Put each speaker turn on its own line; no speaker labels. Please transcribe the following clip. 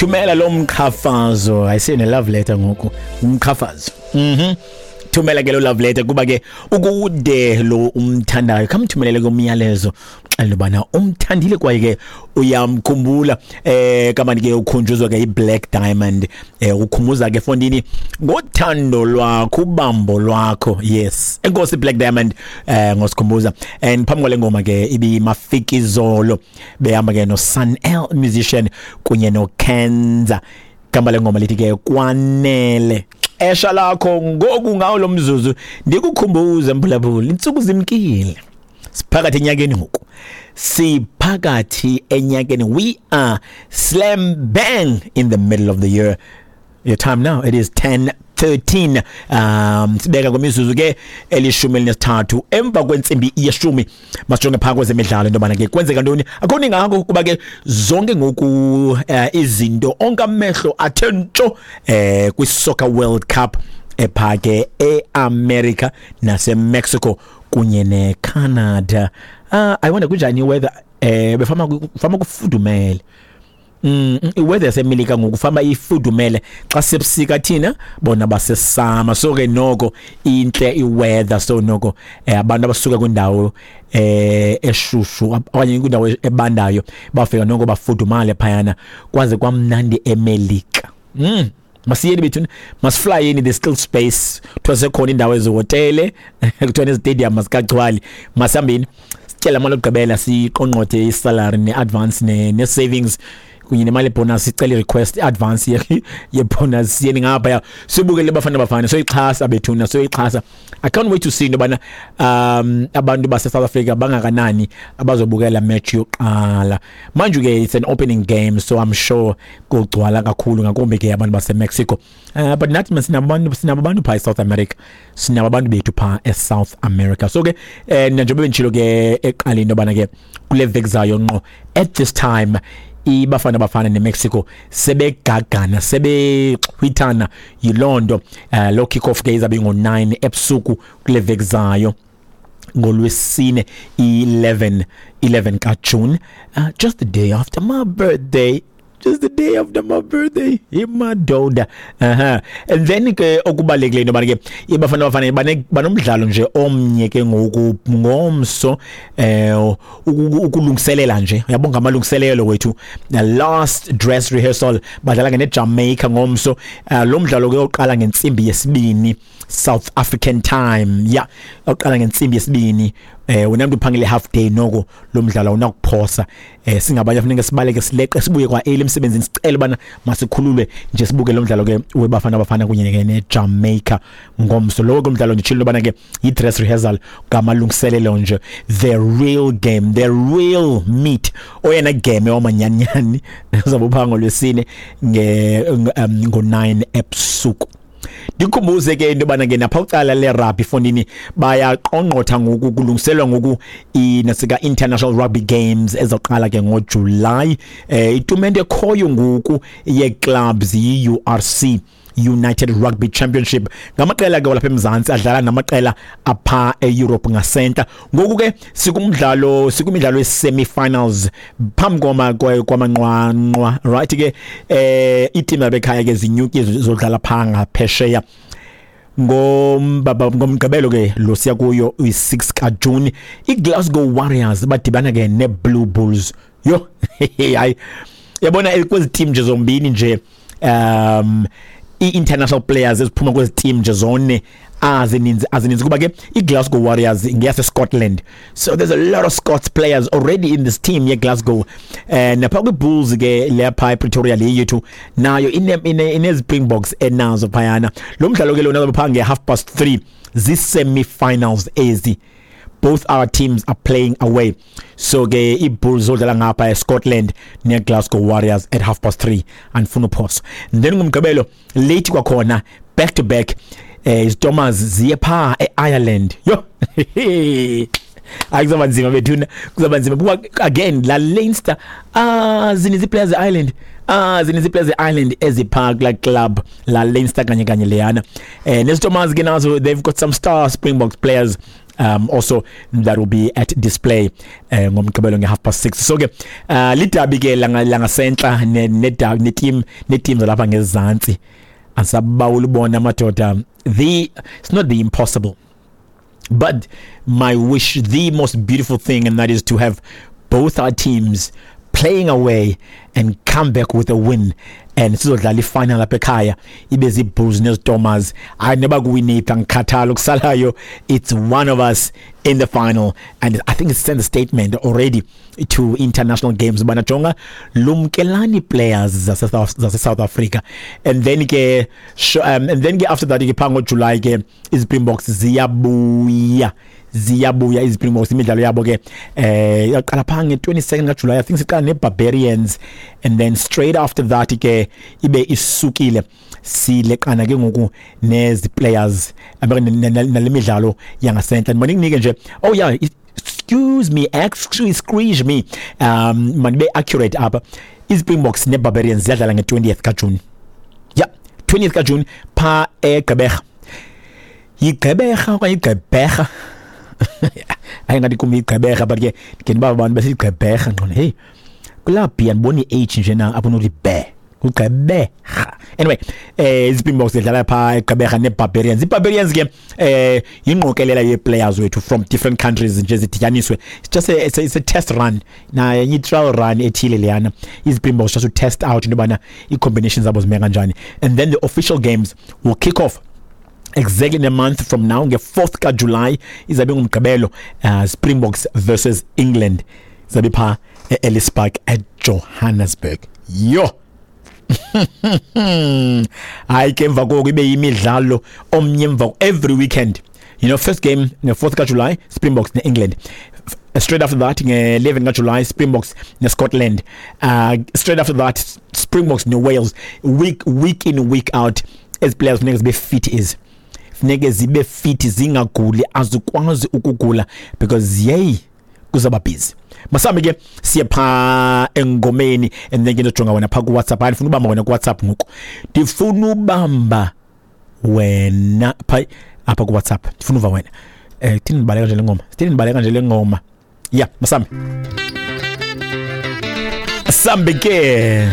Thumela lo mqhafazo, ayisene love letter ngoku, umqhafazo. Thumela ke lo love letter kuba ke ukude lo umthandayo, khamthumelele komyalezo xelela ubana umthandile kwaye ke uyamkhumbula. Kamani ke ukhunjuzwa ke iBlack Diamond, ukhumbuza ke fondini ngothando lwakho, ubambo lwakho. Yes, enkosi Black Diamond ngosikhumbuza. And phambi kwale ngoma ke ibiMafikizolo behamba ke no Sun L Musician kunye no Kenza. Gama lengoma lithi ke Kwanele. Xesha lakho ngoku, ngawo lo mzuzu ndikukhumbuze mphulaphula, intsuku zimkile, siphakathi enyakeni ngoku, siphakathi enyakeni. We are slam bang in the middle of the year. Your time now, it is 10:13, sibeka kwemizuzu ke 13 emva kwentsimbi yeshumi. Masijonge phaa kwezemidlalo into yobana ke kwenzeka ntoni. Akho ningako kuba ke zonke ngoku izinto, onke amehlo athe ntsho kwi-Soccer World Cup epha ke e-America nase-Mexico kunye ne-Canada. I wonder kunjani iweather, befama fama kufudumele. Iweather yaseMelika ngoku fama ifudumele, xa sebusika thina bona basesama, so ke noko intle iweather. So noko abantu abasuka kwindawo eshushu okanye kwindawo ebandayo bafika noko bafudumale phayana, kwaze kwamnandi eMelika. Masiyeni bethuna, masiflyeni, there's still space. Kuthiwa sekhona indawo ezihotele, kuthiwa nezitadium masikagcwali. Masihambeni sityela imali yokugqibela, siqongqothe isalary ne-advance ne-savings kunye nemali ebonus, sicele i-request i-advance ye-bonus, siyeni ngaphaya sibukele Bafana Bafana, soyixhasa bethuna, soyixhasa. I can't wait to see into yobana abantu base-South Africa bangakanani abazobukela match yokuqala. Manje ke it's an opening game, so I'm sure kugcwala kakhulu, ngakumbi ke abantu base-Mexico. But nathi sinabo abantu phaa e-South America, sinabo abantu bethu phaa e-South America. So ke njengoba benditshilo ke eqaleni into yobana ke kule veki zayo ngqo at this time iBafana Bafana neMexico sebegagana, sebexhwithana. Yiloo nto lo kick off ke izabe ngo-9 ebusuku kule veki zayo ngolwesine 11 11 kaJune, just the day after my birthday, just the day after my birthday, imadoda. Aha, and then ke okubalulekileyo into yobana ke iBafana Bafana banomdlalo nje omnye ke ngoku ngomso, ukulungiselela nje, uyabonga amalungiselelo wethu, the last dress rehearsal. Badlala ke neJamaica ngomso. Lo mdlalo ke uqala ngentsimbi yesibini South African time. Yeah, uqala ngentsimbi yesibini. Wena mntu uphangele half day, noko lo mdlalo awunakuphosa. Singabanye funeka sibaleke, sileqe, sibuye kwa early emsebenzini, sicele bana masikhululwe nje sibuke lo mdlalo ke weBafana Bafana kunye ke neJamaica ngomso. Lowo ke umdlalo nditshilo bana ke yi-dress rehearsal, ngamalungiselelo nje. The real game, the real meat, oyena game wamanyanyani uzabe uphaa ngolwesine ngo-9 ebusuku. Ndikhumbuze ke into yobana ke napha ucala le-rugby fondini bayaqongqotha ngoku, kulungiselwa ngoku inasika International Rugby Games ezoqala ke ngoJuly. Itumente ekhoyo ngoku ye-clubs yi-URC, United Rugby Championship, ngamaqela ke walapha eMzantsi adlala namaqela apha eEurope ngasenta. Ngoku ke sikumdlalo we-semi-finals phambi kwamanqwanqwa, right ke. Iiteam yabekhaya ke zinyuki zodlala phaa ngaphesheya ngomgqibelo ke lo siya kuyo, uyi-6 kaJuni. IGlasgow Warriors badibana ke neBlue Bulls. Yo hayi, yabona kwezi team nje zombini nje, i-international players eziphuma kwezi team nje zone azininzi, kuba ke iGlasgow Warriors ngeyase Scotland, so there's a lot of Scots players already in this team yeGlasgow. Napha kwiBulls ke lapha ePretoria le yethu nayo ine Springboks enazo phayana. Lo mdlalo ke lona pha nge 3:30, zi-semi-finals ezi. Both our teams are playing away, so ke iBulls zodlala ngapha eScotland neGlasgow Warriors at 3:30, andifuna uphosa. Then ngumgqibelo late kwakhona, back to back, iStormers ziye pha eIreland. Yo hayi, kuzaba nzima bethuna, kuzaba nzima kuba again la Leinster, zininzi players eIreland, zininzi players eIreland ezipha kula club la Leinster kanye kanye leyana. NeStormers ke nazo, they've got some star Springboks players. Also that will be at display ngoMgqibelo nge-6:30. So ke lidabi ke langasentla neteam neteam zalapha ngezantsi. Asabawula ubona amadoda, the it's not the impossible, but my wish, the most beautiful thing, and that is to have both our teams playing away and come back with a win, and sizodlala ifinal apha ekhaya, ibe zii-Bulls neziStormers. Hayi, noba kuwiniphi, angikhathali, okusalayo it's one of us in the final. And I think it sends a statement already to international games ubana jonga, lumkelani players zase-South Africa. And then ke and then ke after that ke phaa ngoJuly ke iZpringboks ziyabuya, ziyabuya iZpringboks. Imidlalo yabo ke yaqala phaa nge-22nd kaJuly, I think siqala neBarbarians, and then straight after that ke ibe isukile, sileqana ke ngoku nezi players nale midlalo yangasentla. Manikunike nje, oh yeah, excuse me, excuse me, manibe accurate apha. IZpringboks neBarbarians ziyadlala nge-20th kaJuni, yeah, 20th kaJuni phaa eGqeberha. Yigqeberha okanye iGqeberha? Hayi, ngathi kum iGqeberha, but ke ke ndiba abantu besiyigqeberha ngqona. Hey, kulaa b andiboni i-h nje na apho unokuthi be kuGqeberha. Anyway, iZpringboks zidlala phaa eGqeberha neBarbarians. IBarbarians ke yingqokelela yee-players wethu from different countries nje zidityaniswe. It's a test run na i-trial run ethile leyana, iZpringboks, just to test out into yobana ii-combinations zabo zime kanjani. And then the official games will kick off exactly in a month from now, nge-4th kaJuly, izabe ngumgqibelo, Springboks versus England, izabe phaa e-Ellis Park eJohannesburg. Yho, hayi ke, emva koko ibe yimidlalo omnye emva every weekend. First game nge-4th kaJuly, Springboks ne-England. Straight after that, nge-11 kaJuly, Springboks neScotland. Straight after that, Springboks neWales. Week in, week out, ezi players funeka zibe fit, is funeke zibe fit, zingaguli, azikwazi ukugula because yeyi, kuzaba busy. Masambe ke siye phaa engomeni and then ke ndizojonga wena phaa kuWhatsApp. Hayi, ndifuna ubamba wena kuWhatsApp ngoku, ndifuna ubamba wena phaa apha kuWhatsApp, ndifuna uva wena. Thini, ndibaleka nje le ngoma, sithini, ndibaleka nje le ngoma. Ya, masambe, sambe ke.